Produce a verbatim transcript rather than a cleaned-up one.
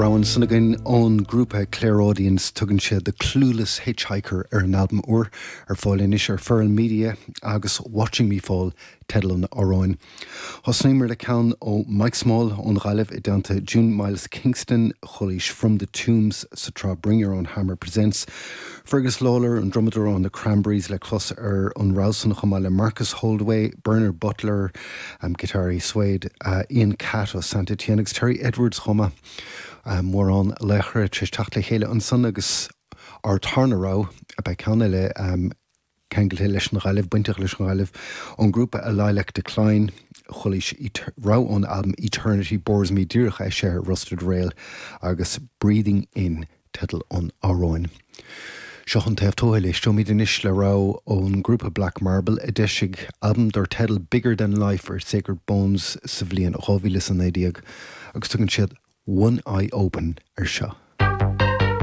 Rogha ansan againn ón grúpa Clairaudience tugann sé The Clueless Hitchhiker ar an albam úr ar fáil anois ar Feral Media agus Watching Me Fall teideal an amhráin. Thosnaíomar le ceann ó Mike Small ón Ghaillimh i dteannta June Miles Kingston chualaís From the Tombs sa tsraith Bring Your Own Hammer Presents. Fergus Lawler an drumadóir ó na Cranberries le clos ar an rogha san chomh maith le Marcus Holdaway, Bernard Butler, um, giotáraí Suede, uh, Ian Catt ó Saint Etienne agus Terry Edwards chomh maith. Um, mórán laochra tar éis teacht le chéile ansan agus ár dtarna rogha a bheith ceann eile um, ceangailte leis an Ghaillimh bainteach leis an Ghaillimh ón grúpa A Lilac Decline chualaís rogha ón album Eternity Bores Me díreach eisithe ar Rusted Rail agus Breathing In teideal an amhráin. Seo an taobh tuathail éisteoimid anois le rogha ón grúpa Black Marble a d'eisigh albam dar teideal Bigger Than Life ar Sacred Bones sa bhliain dhá mhíle is a naoi déag agus tugann siad One Eye Open ar seo.